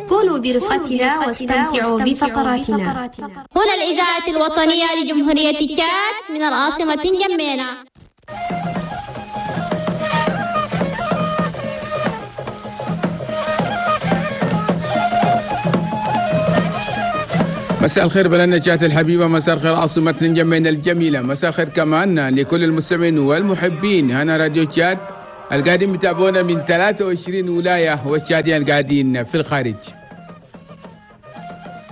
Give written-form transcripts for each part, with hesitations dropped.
كونوا برفقتنا واستمتعوا بفقراتنا. هنا الإذاعة الوطنية لجمهورية تشاد من العاصمة جمينة. مساء الخير بلدنا تشاد الحبيبة، مساء الخير عاصمة نجمين الجميلة، مساء الخير كمان لكل المستمعين والمحبين هنا راديو تشاد القاعدين بتابعونا من 23 ولاية والتشاديين القاعدين في الخارج.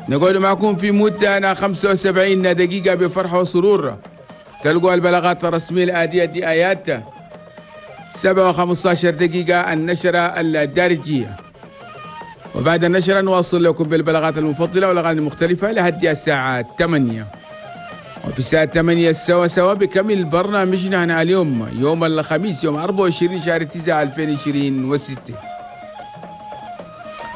نقول معكم في مدة 75 دقيقة بفرحة وسرور. تلقوا البلاغات الرسمية الآتية دي آيات 7:15 النشرة الدارجية، وبعد النشرة نواصل لكم بالبلاغات المفضلة والأغاني المختلفة لحد الساعة 8. وفي الساعة 8 سوا سوا بكمل برنامجنا هنا اليوم يوم الخميس يوم 24 شهر 9 2026.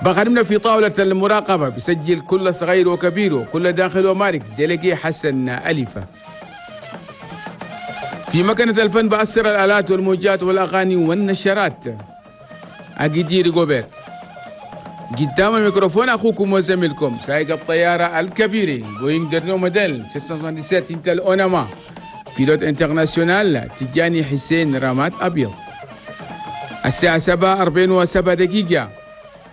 بخدمنا في طاولة المراقبة بسجل كل صغير وكبير وكل داخل ومارك ديليجي حسن أليفة. في مكنة الفن بأسر الآلات والموجات والأغاني والنشرات أجدير جوبير. قدام الميكروفون أخوكم وزميلكم سائق الطيارة الكبير بوينغ dernier modèle 777 إنتل أوناما pilote international تجاني حسين رامات أبيض. الساعة 7:47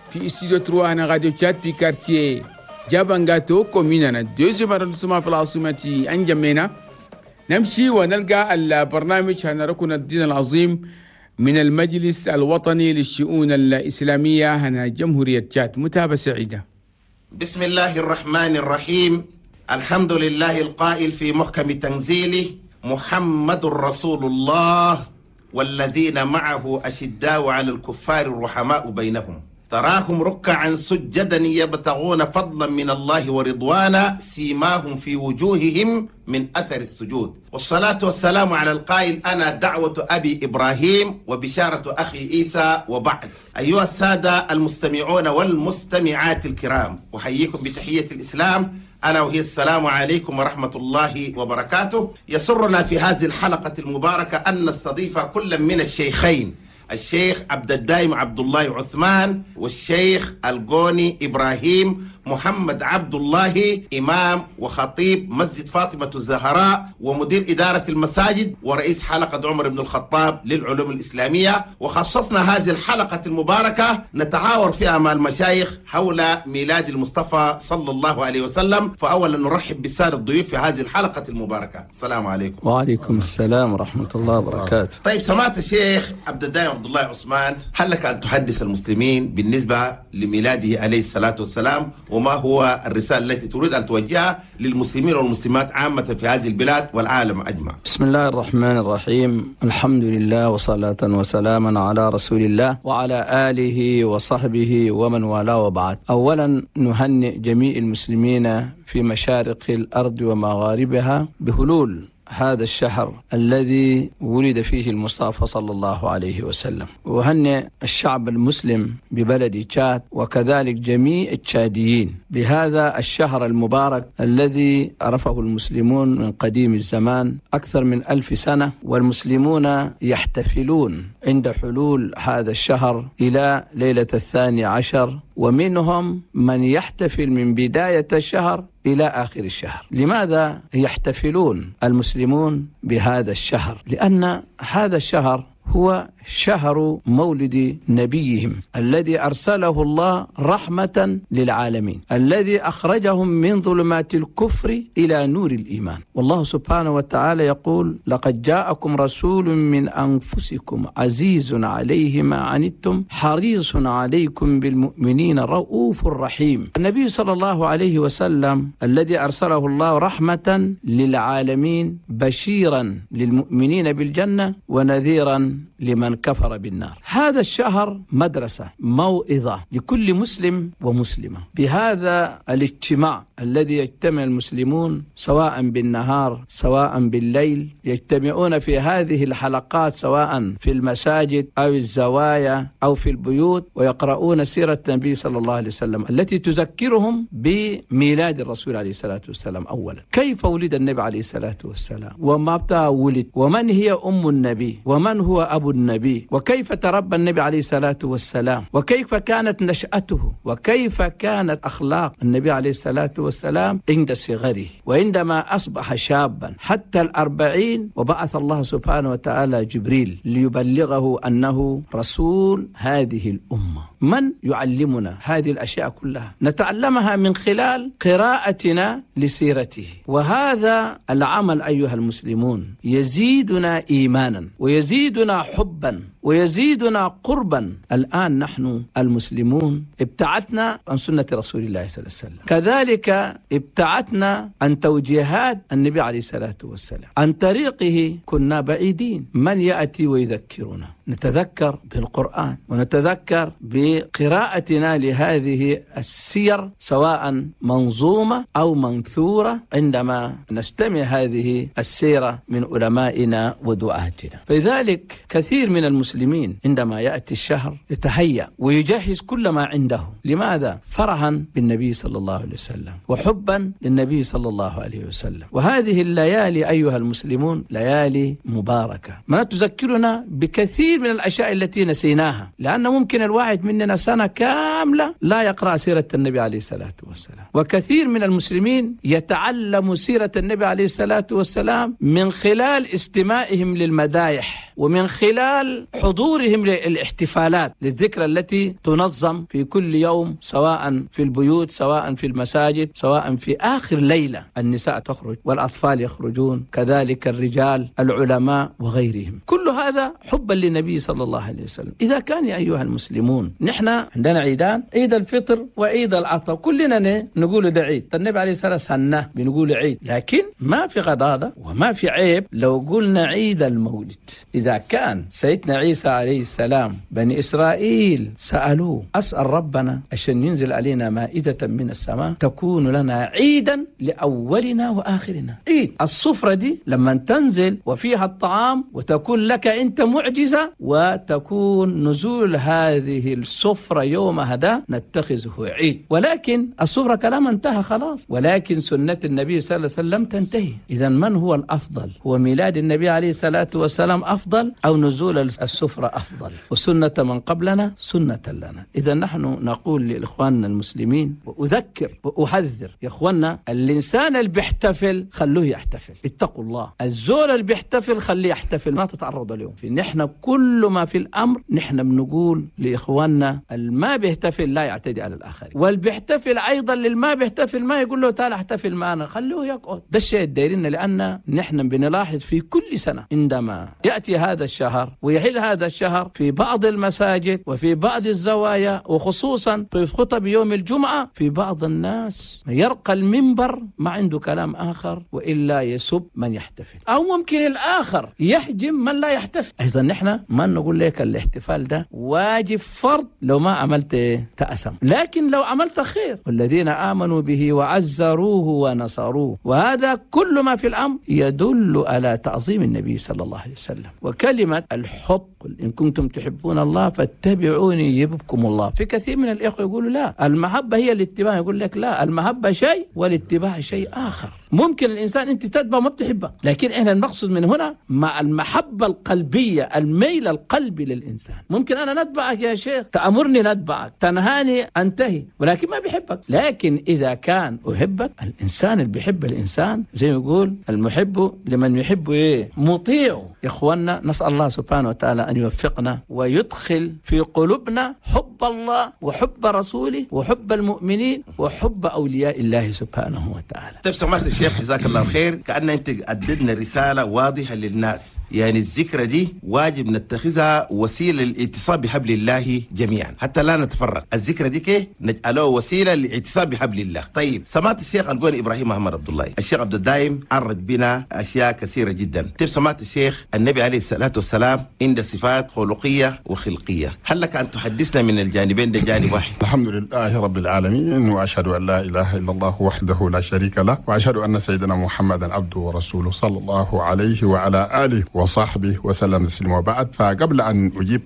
في استوديو 3 هنا راديو تشاد في quartier جابانغاتو commune deuxième arrondissement في العاصمة أنجمينا. نمشي ونلقى البرنامج هنا ركن الدين العظيم من المجلس الوطني للشؤون الإسلامية هنا جمهورية تشاد. متابعة سعيدة. بسم الله الرحمن الرحيم. الحمد لله القائل في محكم تنزيله: محمد رسول الله والذين معه أشداء على الكفار رحماء بينهم تراهم ركعا سجدا يبتغون فضلا من الله ورضوانا سيماهم في وجوههم من أثر السجود. والصلاة والسلام على القائل: أنا دعوة أبي إبراهيم وبشارة أخي عيسى. وبعد، أيها السادة المستمعون والمستمعات الكرام، أحييكم بتحية الإسلام، ألا وهي السلام عليكم ورحمة الله وبركاته. يسرنا في هذه الحلقة المباركة أن نستضيف كل من الشيخين، الشيخ عبد الدائم عبد الله عثمان والشيخ القوني إبراهيم محمد عبد الله، إمام وخطيب مسجد فاطمة الزهراء ومدير إدارة المساجد ورئيس حلقة عمر بن الخطاب للعلوم الإسلامية. وخصصنا هذه الحلقة المباركة نتعاور فيها مع المشايخ حول ميلاد المصطفى صلى الله عليه وسلم. فأولا نرحب بالسادة الضيوف في هذه الحلقة المباركة. السلام عليكم. وعليكم السلام ورحمة الله وبركاته. طيب، سمعت الشيخ عبد الدائم عبد الله عثمان، هل لك أن تحدث المسلمين بالنسبة لميلاده عليه الصلاة والسلام، وما هو الرسالة التي تريد أن توجهها للمسلمين والمسلمات عامة في هذه البلاد والعالم أجمع؟ بسم الله الرحمن الرحيم. الحمد لله وصلاة وسلاما على رسول الله وعلى آله وصحبه ومن والاه، وبعد. أولا نهنئ جميع المسلمين في مشارق الأرض ومغاربها بهلول هذا الشهر الذي ولد فيه المصطفى صلى الله عليه وسلم. وهنئ الشعب المسلم ببلد تشاد وكذلك جميع التشاديين بهذا الشهر المبارك الذي عرفه المسلمون من قديم الزمان أكثر من 1000 سنة، والمسلمون يحتفلون عند حلول هذا الشهر إلى ليلة 12، ومنهم من يحتفل من بداية الشهر إلى آخر الشهر. لماذا يحتفلون المسلمون بهذا الشهر؟ لأن هذا الشهر هو شهر مولد نبيهم الذي أرسله الله رحمة للعالمين، الذي أخرجهم من ظلمات الكفر إلى نور الإيمان. والله سبحانه وتعالى يقول: لقد جاءكم رسول من أنفسكم عزيز عليه ما عنتم حريص عليكم بالمؤمنين رؤوف رحيم. النبي صلى الله عليه وسلم الذي أرسله الله رحمة للعالمين، بشيرا للمؤمنين بالجنة ونذيرا لمن كفر بالنار. هذا الشهر مدرسة، موعظة لكل مسلم ومسلمة. بهذا الاجتماع الذي يجتمع المسلمون سواء بالنهار سواء بالليل، يجتمعون في هذه الحلقات سواء في المساجد أو الزوايا أو في البيوت، ويقرؤون سيرة النبي صلى الله عليه وسلم التي تذكرهم بميلاد الرسول عليه الصلاة والسلام. أولا، كيف ولد النبي عليه الصلاة والسلام، ومتى ولد، ومن هي أم النبي، ومن هو أبو النبي، وكيف تربى النبي عليه الصلاة والسلام، وكيف كانت نشأته، وكيف كانت أخلاق النبي عليه الصلاة والسلام عند صغره وعندما أصبح شابا حتى 40، وبعث الله سبحانه وتعالى جبريل ليبلغه أنه رسول هذه الأمة. من يعلمنا هذه الأشياء كلها؟ نتعلمها من خلال قراءتنا لسيرته. وهذا العمل أيها المسلمون يزيدنا إيمانا ويزيدنا حبا ويزيدنا قربا. الآن نحن المسلمون ابتعدنا عن سنة رسول الله صلى الله عليه وسلم، كذلك ابتعدنا عن توجيهات النبي عليه الصلاة والسلام، عن طريقه كنا بعيدين. من يأتي ويذكرنا؟ نتذكر بالقرآن ونتذكر بقراءتنا لهذه السير، سواء منظومة أو منثورة، عندما نستمع هذه السيرة من علمائنا ودعاتنا. فلذلك كثير من المسلمين عندما يأتي الشهر يتهيأ ويجهز كل ما عنده. لماذا؟ فرحا بالنبي صلى الله عليه وسلم وحبا للنبي صلى الله عليه وسلم. وهذه الليالي أيها المسلمون ليالي مباركة، ما تذكرنا بكثير من الأشياء التي نسيناها، لأن ممكن الواحد مننا سنة كاملة لا يقرأ سيرة النبي عليه الصلاة والسلام. وكثير من المسلمين يتعلم سيرة النبي عليه الصلاة والسلام من خلال استماعهم للمدايح ومن خلال حضورهم للاحتفالات للذكرى التي تنظم في كل يوم، سواء في البيوت، سواء في المساجد، سواء في آخر ليلة النساء تخرج والأطفال يخرجون، كذلك الرجال، العلماء وغيرهم. كل هذا حبا للنبي صلى الله عليه وسلم. إذا كان يا أيها المسلمون نحن عندنا عيدان، عيد الفطر وعيد الأضحى، كلنا نقول ده عيد. النبي عليه الصلاة والسلام سنة بنقول عيد، لكن ما في غضاضة وما في عيب لو قلنا عيد المولد. إذا كان سيدنا عيسى عليه السلام بني إسرائيل سألوه أسأل ربنا عشان ينزل علينا مائدة من السماء تكون لنا عيدا لأولنا وآخرنا. عيد الصفرة دي لما تنزل وفيها الطعام وتكون لك أنت معجزة، وتكون نزول هذه السفرة يوم هذا نتخذه عيد. ولكن السفرة كلام انتهى خلاص، ولكن سنة النبي صلى الله عليه وسلم تنتهي. إذا من هو الأفضل؟ هو ميلاد النبي عليه الصلاة والسلام أفضل أو نزول السفرة أفضل؟ وسنة من قبلنا سنة لنا. إذا نحن نقول لإخواننا المسلمين، وأذكر وأحذر يا إخواننا، الإنسان اللي بيحتفل خلوه يحتفل، اتقوا الله. الزول اللي بيحتفل خليه يحتفل، ما تتعرض اليوم. نحن كل ما في الأمر نحن بنقول لإخواننا الما بيحتفل لا يعتدي على الآخرين، واللي بيحتفل أيضا للما بيحتفل ما يقول له تعال احتفل معنا، خلوه يقعد. ده الشيء الدايرين، لأن نحن بنلاحظ في كل سنة عندما يأتي هذا الشهر ويحل هذا الشهر في بعض المساجد وفي بعض الزوايا، وخصوصا في خطب يوم الجمعة، في بعض الناس يرقى المنبر ما عنده كلام آخر وإلا يسب من يحتفل، أو ممكن الآخر يحجم من لا يحتفل. أيضا نحن ما نقول لك الاحتفال ده واجب فرض، لو ما عملت تأسم، لكن لو عملت خير. والذين آمنوا به وعزروه ونصروه، وهذا كل ما في الأمر يدل على تعظيم النبي صلى الله عليه وسلم. وكلمة الحب، قل إن كنتم تحبون الله فاتبعوني يحببكم الله. في كثير من الإخوة يقولوا لا، المحبة هي الاتباع، يقول لك لا، المحبة شيء والاتباع شيء آخر. ممكن الإنسان أنت تتبع ما بتحبه، لكن إحنا المقصود من هنا مع المحبة القلبية، الميل القلبي للإنسان. ممكن أنا نتبعك يا شيخ، تأمرني نتبعك، تنهاني أنتهي، ولكن ما بحبك. لكن إذا كان أحبك، الإنسان اللي بيحب الإنسان زي ما يقول المحب لمن يحب إيه مطيع. يا إخواننا نسأل الله سبحانه وتعالى أن يوفقنا ويدخل في قلوبنا حب الله وحب رسوله وحب المؤمنين وحب أولياء الله سبحانه وتعالى. طيب سماحة الشيخ جزاك الله خير، كأن أنت أددنا رسالة واضحة للناس، يعني الذكرى دي واجب نتخذها وسيلة للاتصال بحبل الله جميعا حتى لا نتفرق. الذكرى دي كي نجعله وسيلة للاتصال بحبل الله. طيب سماحة الشيخ القوني إبراهيم محمد عبد الله، الشيخ عبد الدايم عرج بنا أشياء كثيرة جدا. طيب سماحة الشيخ، النبي عليه الصلاة والسلام عنده صفات خلقية وخلقية، هل لك أن تحدثنا من الجانبين ده جانب واحد؟ الحمد لله رب العالمين، وأشهد أن لا إله إلا الله وحده لا شريك له، وأشهد أن سيدنا محمدا عبده ورسوله صلى الله عليه وعلى آله وصحبه وسلم تسليما. وبعد، فقبل أن أجيب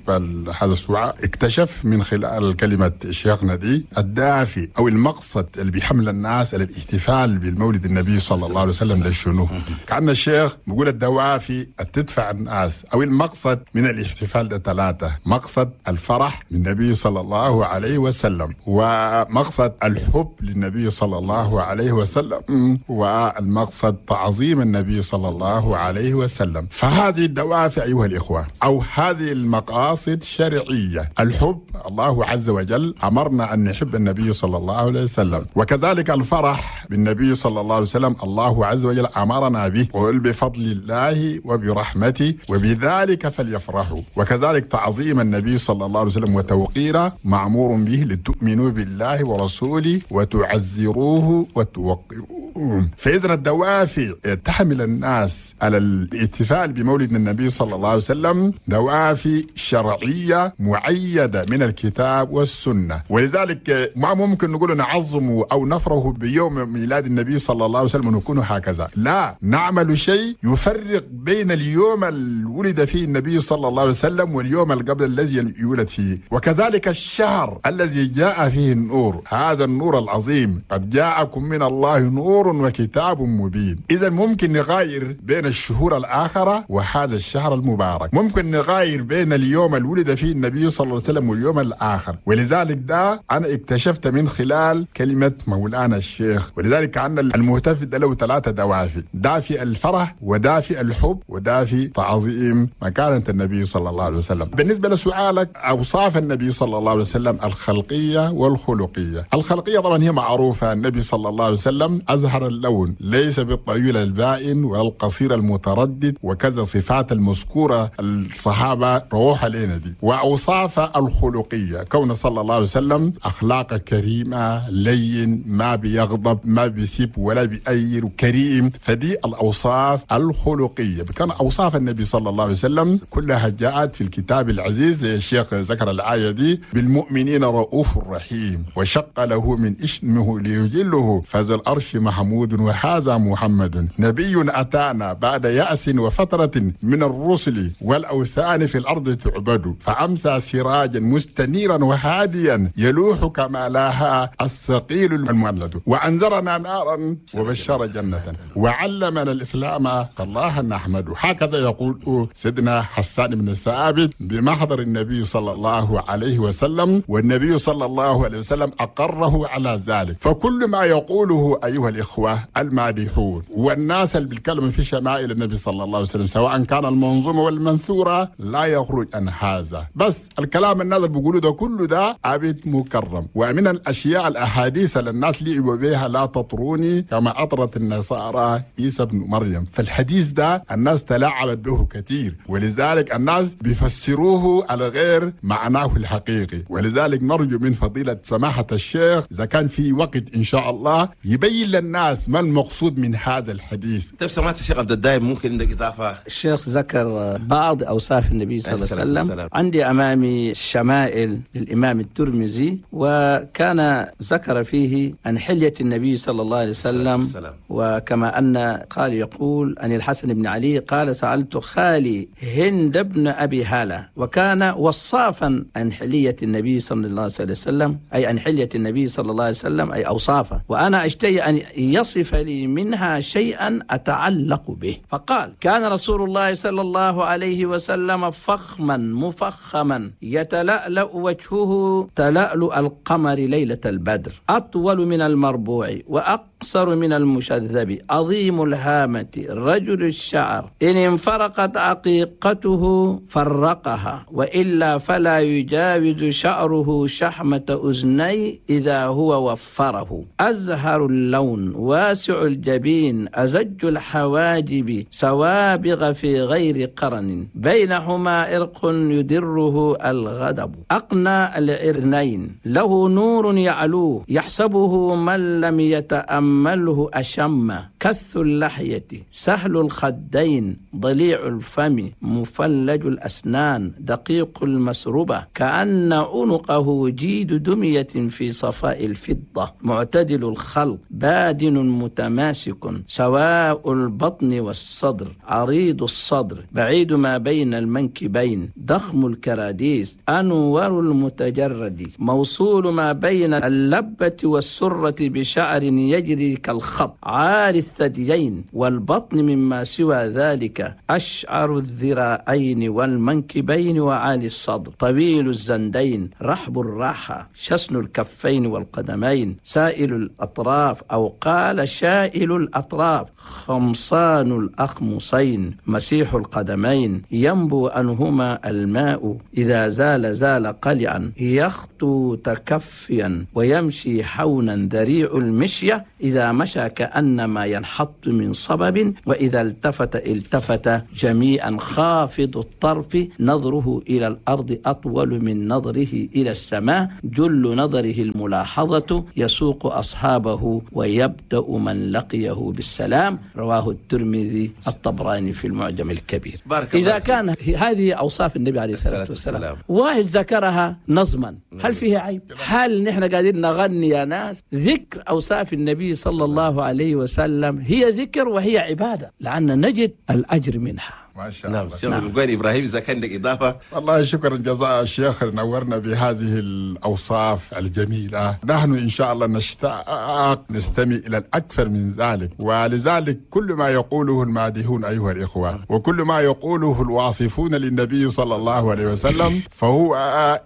هذا السؤال، اكتشف من خلال كلمة شيخنا دي الدافع أو المقصد اللي بيحمل الناس على الاحتفال بالمولد النبي صلى الله عليه وسلم ده شنو. كأن الشيخ بيقول الدوافع تدفع الناس الناس أو المقصد من الاحتفال ده ثلاثة: مقصد الفرح للنبي صلى الله عليه وسلم، ومقصد الحب للنبي صلى الله عليه وسلم، والمقصد تعظيم النبي صلى الله عليه وسلم. فهذه الدوافع أيها الإخوة أو هذه المقاصد شرعية. الحب الله عز وجل أمرنا أن نحب النبي صلى الله عليه وسلم، وكذلك الفرح بالنبي صلى الله عليه وسلم الله عز وجل أمرنا به، قل بفضل الله وبرحمته وبذلك فليفرحوا. وكذلك تعظيم النبي صلى الله عليه وسلم وتوقيره معمور به لتؤمنوا بالله ورسوله وتعزروه وتوقروه. فإذا الدوافع تحمل الناس على الاحتفال بمولد النبي صلى الله عليه وسلم دوافع شرعية معيدة من الكتاب والسنة، ولذلك ما ممكن نقول نعظم أو نفرح بيوم ميلاد النبي صلى الله عليه وسلم ونكون هكذا. لا، نعمل شيء يفرق بين اليوم اللي ولد فيه النبي صلى الله عليه وسلم واليوم القبل الذي يولد فيه، وكذلك الشهر الذي جاء فيه النور، هذا النور العظيم قد جاءكم من الله نور وكتاب مبين. إذا ممكن نغير بين الشهور الآخرة وهذا الشهر المبارك، ممكن نغير بين اليوم اللي ولد فيه النبي صلى الله عليه وسلم واليوم الآخر. ولذلك ده أنا اكتشفت من خلال كلمة مولانا الشيخ. ولذلك عندنا المهتف ده له ثلاثة دوافع: دافع الفرح، ودافع الحب، ودافع تعظيم مكانة النبي صلى الله عليه وسلم. بالنسبة لسؤالك، أوصاف النبي صلى الله عليه وسلم الخلقية والخلقية. الخلقية طبعا هي معروفة، النبي صلى الله عليه وسلم أزهر اللون، ليس بالطويل البائن والقصير المتردد، وكذا صفات المذكورة الصحابة روح علينا دي. وأوصاف الخلقية كون صلى الله عليه وسلم أخلاق كريمة، لين، ما بيغضب، ما بيسيب ولا بيأير، كريم. فدي الأوصاف الخلقية. كان أوصاف النبي صلى الله عليه وسلم كلها جاءت في الكتاب العزيز. الشيخ ذكر الآية دي: بالمؤمنين رؤوف رحيم، وشق له من اسمه ليجله، فذا الأرش محمود وهذا محمد، نبي أتانا بعد يأس وفترة من الرسل والأوثان في الأرض تعبد، فأمسى سراجا مستنيرا وهاديا يلوح كما لاها الثقيل المولد، وأنذرنا نارا وبشر جنة، وعلمنا الإسلام فالله نحمده. هكذا يقول سيدنا حسان بن ثابت بمحضر النبي صلى الله عليه وسلم، والنبي صلى الله عليه وسلم أقره على ذلك. فكل ما يقوله أيها الإخوة المادحون والناس اللي بالكلام في شمائل النبي صلى الله عليه وسلم، سواء كان المنظومة والمنثورة، لا يخرج عن هذا. بس الكلام الناس اللي بيقولوا ده كله ده عبد مكرم. ومن الأشياء الأحاديث اللي الناس لعبوا بها: لا تطروني كما أطرت النصارى عيسى بن مريم. فالحديث ده الناس تلاعبت به كثير، ولذلك الناس بيفسروه على غير معناه الحقيقي. ولذلك نرجو من فضيلة سماحة الشيخ إذا كان في وقت إن شاء الله يبين للناس ما المقصود من هذا الحديث. طيب سماحة الشيخ عبد الدائم، ممكن عندك إضافة؟ الشيخ ذكر بعض أوصاف النبي صلى الله عليه وسلم. عندي أمامي الشمائل للإمام الترمذي، وكان ذكر فيه عن حلية النبي صلى الله عليه وسلم. وكما أن قال يقول عن الحسن بن علي قال: سألت خالي هند بن أبي هالة، وكان وصافا عن حلية النبي صلى الله عليه وسلم، أي عن حلية النبي صلى الله عليه وسلم، أي أوصافه، وأنا أشتهي أن يصف لي منها شيئا أتعلق به. فقال: كان رسول الله صلى الله عليه وسلم فخما مفخما، يتلألأ وجهه تلألؤ القمر ليلة البدر، أطول من المربوع وأقصر من المشذب، عظيم الهامة، رجل الشعر، إن انفرقت عقيقته فرقها، وإلا فلا يجاوز شعره شحمة أذني إذا هو وفره، أزهر اللون، واسع الجبين، أزج الحواجب، سوابغ في غير قرن، بينهما إرق يدره الغضب، أقنى العرنين، له نور يعلوه، يحسبه من لم يتأمله أشم، كث اللحية، سهل الخدين، ضليع الفم، مفلج الأسنان، دقيق المسربة، كأن عنقه جيد دمية في صفاء الفضة، معتدل الخلق، بادن متماسك، سواء البطن والصدر، عريض الصدر، بعيد ما بين المنكبين، ضخم الكراديس، أنور المتجرد، موصول ما بين اللبة والسرة بشعر يجري يجري كالخط، عالي الثديين والبطن مما سوى ذلك، أشعر الذراعين والمنكبين وعالي الصدر، طويل الزندين، رحب الراحة، شسن الكفين والقدمين، سائل الأطراف أو قال شائل الأطراف، خمصان الأخمصين، مسيح القدمين، ينبو عنهما الماء، إذا زال زال قلعا، يخطو تكفيا ويمشي حونا، ذريع المشية، إذا مشى كأنما ينحط من صبب، وإذا التفت التفت جميعا، خافض الطرف، نظره إلى الأرض أطول من نظره إلى السماء، جل نظره الملاحظة، يسوق أصحابه ويبدأ من لقيه بالسلام. رواه الترمذي الطبراني في المعجم الكبير. إذا كان هذه أوصاف النبي عليه الصلاة والسلام، واحد ذكرها نظما، هل فيها عيب؟ هل نحن قاعدين نغني يا ناس؟ ذكر أوصاف النبي صلى الله عليه وسلم هي ذكر وهي عبادة، لأن نجد الأجر منها. ما شاء الله. نعم. نعم. إبراهيم إذا كان لك إضافة. والله شكرا جزاء الشيخ، نورنا بهذه الأوصاف الجميلة. نحن إن شاء الله نشتاق نستمع إلى الأكثر من ذلك، ولذلك كل ما يقوله المادحون أيها الإخوة وكل ما يقوله الواصفون للنبي صلى الله عليه وسلم فهو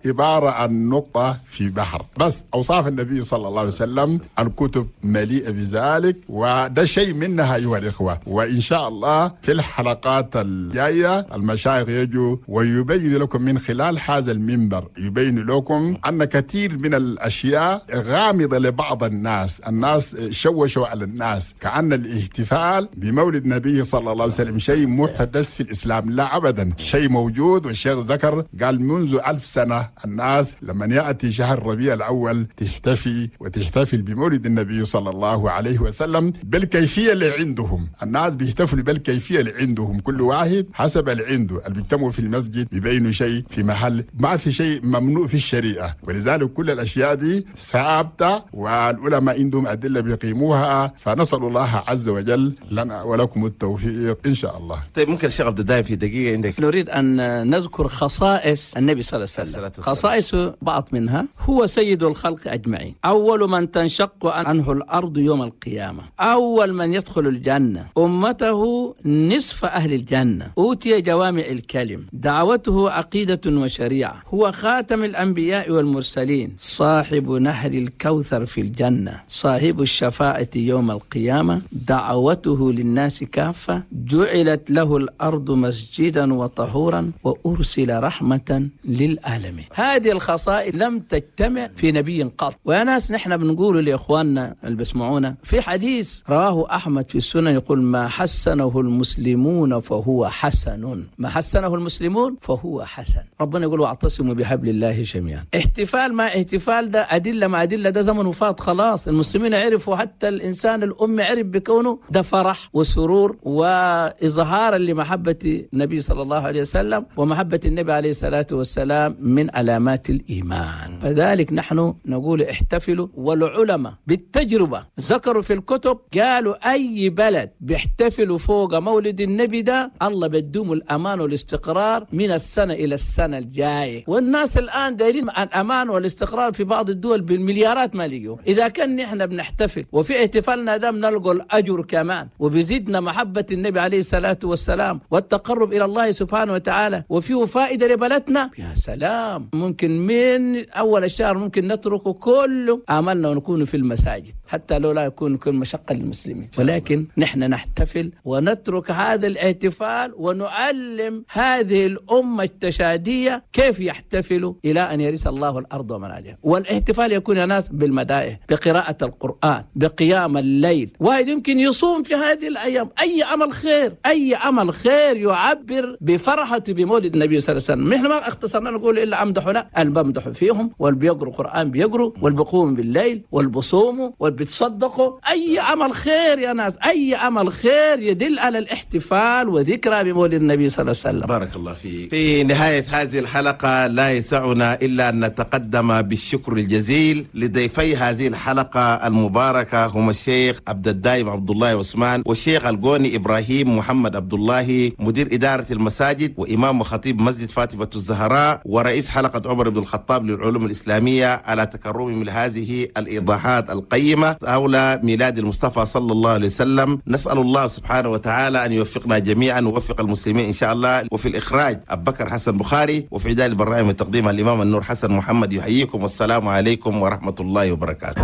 عبارة عن نقطة في بحر. بس أوصاف النبي صلى الله عليه وسلم الكتب مليئة بذلك، وده شيء منها أيها الإخوة. وإن شاء الله في الحلقات الجاية المشايخ يجوا ويبين لكم من خلال هذا المنبر، يبين لكم أن كثير من الأشياء غامضة لبعض الناس. الناس شوشوا على الناس كأن الاحتفال بمولد النبي صلى الله عليه وسلم شيء محدث في الإسلام. لا أبدا، شيء موجود. والشيخ ذكر قال منذ 1000 سنة الناس لما يأتي شهر ربيع الأول تحتفي وتحتفل بمولد النبي صلى الله عليه وسلم بالكيفية اللي عندهم. الناس بيحتفلوا بالكيفية اللي عندهم، كل واحد حسب اللي عنده. اللي بيجتمعوا في المسجد بيبينوا شيء في محل، ما في شيء ممنوع في الشريعة. ولذلك كل الأشياء دي ثابتة والعلماء عندهم أدلة بيقيموها. فنسأل الله عز وجل لنا ولكم التوفيق إن شاء الله. طيب ممكن الشيخ عبد الدائم في دقيقة عندك. نريد أن نذكر خصائص النبي صلى الله عليه وسلم. خصائص بعض منها: هو سيد الخلق أجمعين، أول من تنشق عنه الأرض يوم القيامة، أول من يدخل الجنة، أمته نصف أهل الجنة، أوتي جوامع الكلم، دعوته عقيدة وشريعة، هو خاتم الأنبياء والمرسلين، صاحب نهر الكوثر في الجنة، صاحب الشفاعة يوم القيامة، دعوته للناس كافة، جعلت له الأرض مسجدا وطهورا، وأرسل رحمة للعالمين. هذه الخصائص لم تجتمع في نبي قط. ويا ناس نحن بنقول لإخواننا اللي بيسمعونا في حديث رواه أحمد في السنة يقول: ما حسنه المسلمون فهو حسن، ما حسنه المسلمون فهو حسن. ربنا يقول: واعتصموا بحبل الله جميعا. احتفال ما احتفال ده أدلة ما أدلة، ده زمن وفات خلاص. المسلمين عرفوا، حتى الإنسان الأمي عرف بكونه ده فرح وسرور وإظهارا لمحبة النبي صلى الله عليه وسلم، ومحبة النبي عليه الصلاة والسلام من علامات الإيمان. فذلك نحن نقول احتفلوا. والعلماء بالتجربة ذكروا في الكتب، قالوا أي بلد بيحتفلوا فوق مولد النبي ده الله بدوم الأمان والاستقرار من السنة إلى السنة الجاية. والناس الآن دايرين الأمان والاستقرار في بعض الدول بالمليارات ما لقيوا. إذا كان نحن بنحتفل وفي احتفالنا ده بنلقى الأجر كمان، وبيزيدنا محبة النبي عليه الصلاة والسلام والتقرب إلى الله سبحانه وتعالى، وفيه فائدة لبلدنا. يا سلام، ممكن من أول الشهر ممكن نتركه كله عملنا ونكون في المساجد، حتى لو لا يكون كل مشقة للمسلمين، ولكن نحن نحتفل ونترك هذا الاحتفال ونعلم هذه الأمة التشادية كيف يحتفلوا إلى أن يرث الله الأرض ومن عليها. والاحتفال يكون يا ناس بالمدائح، بقراءة القرآن، بقيام الليل. واحد يمكن يصوم في هذه الأيام. أي عمل خير، أي عمل خير يعبر بفرحة بمولد النبي صلى الله عليه وسلم. نحن ما اختصرنا نقول إلا أمدحوا، لا، اللي بمدحوا فيهم واللي بيقروا قرآن بيقروا، واللي بيقوموا بالليل، واللي بيصوموا، واللي بيتصدقوا. أي عمل خير يا ناس، أي عمل خير يدل على الاحتفال وذكرى ذكرى بمولد النبي صلى الله عليه وسلم. بارك الله فيك. في نهاية هذه الحلقة لا يسعنا إلا أن نتقدم بالشكر الجزيل لضيفي هذه الحلقة المباركة، هم الشيخ عبد الدايم عبد الله عثمان والشيخ القوني إبراهيم محمد عبد الله، مدير إدارة المساجد وإمام وخطيب مسجد فاطمة الزهراء ورئيس حلقة عمر بن الخطاب للعلوم الإسلامية، على تكرمهم لهذه الإيضاحات القيمة حول ميلاد المصطفى صلى الله عليه وسلم. نسأل الله سبحانه وتعالى أن يوفقنا جميعا ويوفق المسلمين إن شاء الله. وفي الإخراج أبو بكر حسن بخاري، وفي إعداد البرنامج والتقديم الإمام النور حسن محمد يحييكم، والسلام عليكم ورحمة الله وبركاته.